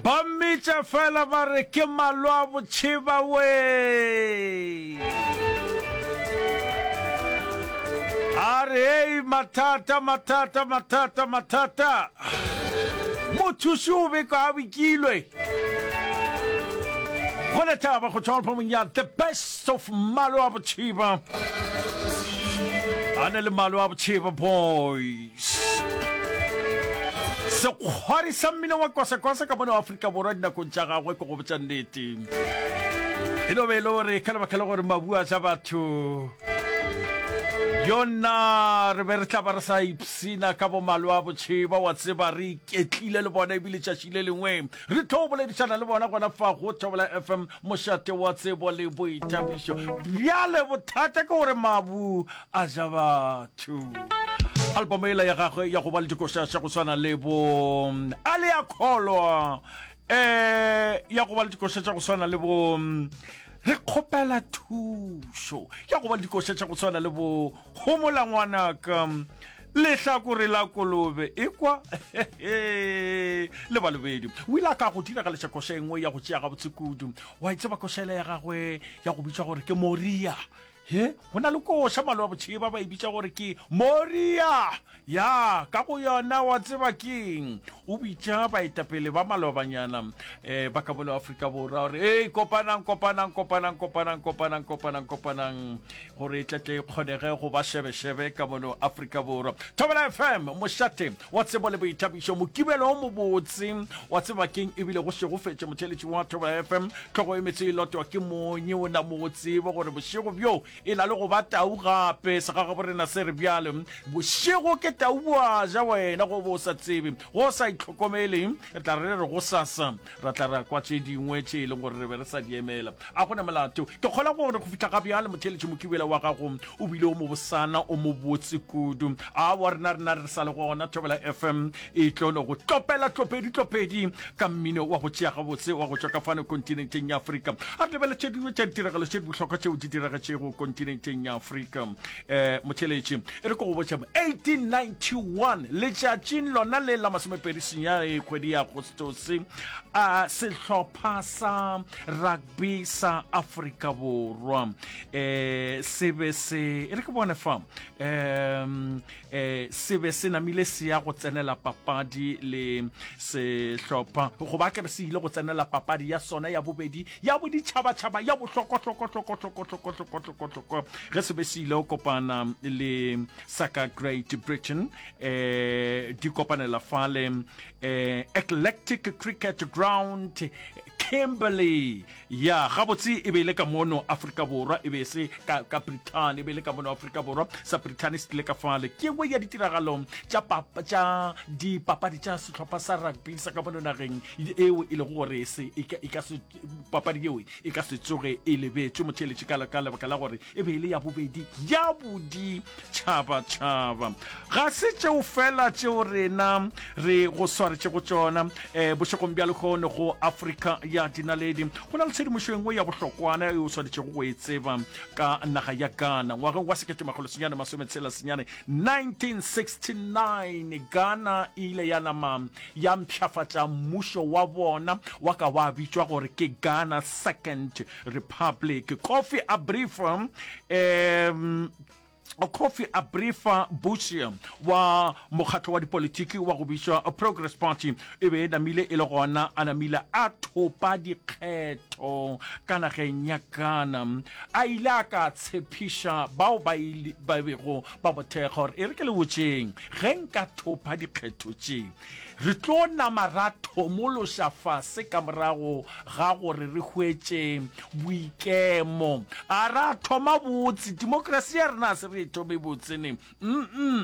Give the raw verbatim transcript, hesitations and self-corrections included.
Ba mmitša fela ba re ke Malwa Botšheba wee. A re hei mathata mathata mathata mathata. Mothuši o be ka bikilwe. Go lethaba go tšwa albumong ya The Best of Malwa Botšheba. A ne le Malwa Botšheba Boys. Sekgwari sa mmino wa kwasakwasa ka mono Afrika Borwa dinakong tša gagwe ke go botša nnete. E no be e le gore ka lebaka la gore mabu a ja batho yona re be re tla ba re sa ipsina ka bomalwa botšheba wa tseba re iketlile le bona ebile tšatši le lengwe re tlo boledišana le bona gona fa go Thobela F M mošate wa tsebo le boithabišo. Bjale bothata ke gore mabu a ja batho. Album ela ya gagwe ya go ba le dikoša tša go swana le bo A le a kholwa, eh ya go ba le dikoša tša go swana le bo Re kgopela thušo, ya go ba le dikoša tša go swana le bo Homola ngwanaka, Lehlakore la kolobe, ekwa le balobedi. O ile a ka go diragaleša koša e nngwe ya go tšea gabotse kudu. Wa e tseba koša ela ya gagwe ya go bitšwa gore ke Moria. He, go na le koša maloba botšheba ba e bitša gore ke Moria. Ya, ka go yona wa tseba keng? O bitša baetapele ba malobanyana um ba ka mono Afrika Borwa gore ei kopanang kopanang kopanang kopanang kopanang kopanang kopanang gore e tletle e kgonege go ba šebešebe ka mono Afrika Borwa. Thobela F M, mošate wa tsebo le boithabišo, mokibelo o mobotse wa tseba keng ebile go šegofetše motheeletši wa Thobela F M, hlogo e metse e lotwa ke monye o na mo tsebe gore bošego bjo e na le go ba tau gape. Segagaborena se re bjale bošego ke tau boa ja wena go bo o sa tsebe, go o sa itlhokomele re tla re re gosasa ra tla ra kwa tše dingwe tše e leng gore re be re sa di emela. A go na molato. Ke kgolwa gore go fihla ga bjale motheeletši mokibela wa gago o bile o mobosana o mobotse kudu. Aowa rena rena re sa le gona Thobela F M e tlo no go tlopela tlopedi tlopedi ka mmino wa go tšea gabotse wa go tšwa ka fano kontinenteng ya Afrika. A re lebele tše dingwe tša ditiragalo tše di bohlokwa tšeo di diragetšego kontinenteng ya Afrika. Um motheeletši e re ke go botša eighteen ninety-one letšatšing lona le la masomepedi senyane kgwedi ya Agostose a sehlopha sa rugby sa Afrika Borwa um se be se e re ke bone fa um eh se be se namile se ya go tsenela papadi le sehlopha goba ke re se ile go tsenela papadi ya sona ya bobedi ya boditšhabatšhaba ya bohlokwa-hlokwa-hlokwa-hlokwa-hlokwa-hlokwa-hlokwa ge se be se ile go kopana le sa ka Great Britain eh di kopanela fale eh Eclectic Cricket Ground Kimberley. Ya, gabotse e be e le ka mono Afrika Borwa, e be e se ka, ka Brithani, e be e le ka mono Afrika Borwa. Sa Brithani se tlile ka fale. Ke nngwe ya ditiragalo tša, tša dipapadi tša sehlopha sa rugby sa ka mono nageng eo e lego gore se, e ka, e ka se, papadi yeo e ka se tsoge e lebetšwe motheeletši ka, ka lebaka la gore e be e le ya bobedi ya boditšhabatšhaba. Ga se tšeo fela tšeo rena re go swaretšego tšona um bošegong bja lehono go Afrika ya Dinaledi. Go na le tshedimošo e nngwe ya bohlokwana e o swanetšego go e tseba ka naga ya Ghana. Ngwageng wa sekete makgolo senyane masometshela senyane, nineteen sixty-nine, Ghana e ile ya nama ya mpshafatša mmušo wa bona wa ka wa bitšwa gore ke Ghana Second Republic. Kofi Abrifa, um Kofi Abrifa Busia wa mokgatlo wa dipolitiki wa go bitšwa Progress Party e be e namile e le gona a namile a thopa dikgetho ka nageng ya Ghana. A ile a ka tshepiša bao ba ba bego ba mo thekga gore e re ke le botšeng ge nka thopa dikgetho tše re tlo nama ra thomološa fase ka morago ga gore re hwetše boikemo. A ra thoma botse, demokrasi ya rena a se re e thome botse ne. Mm-mm.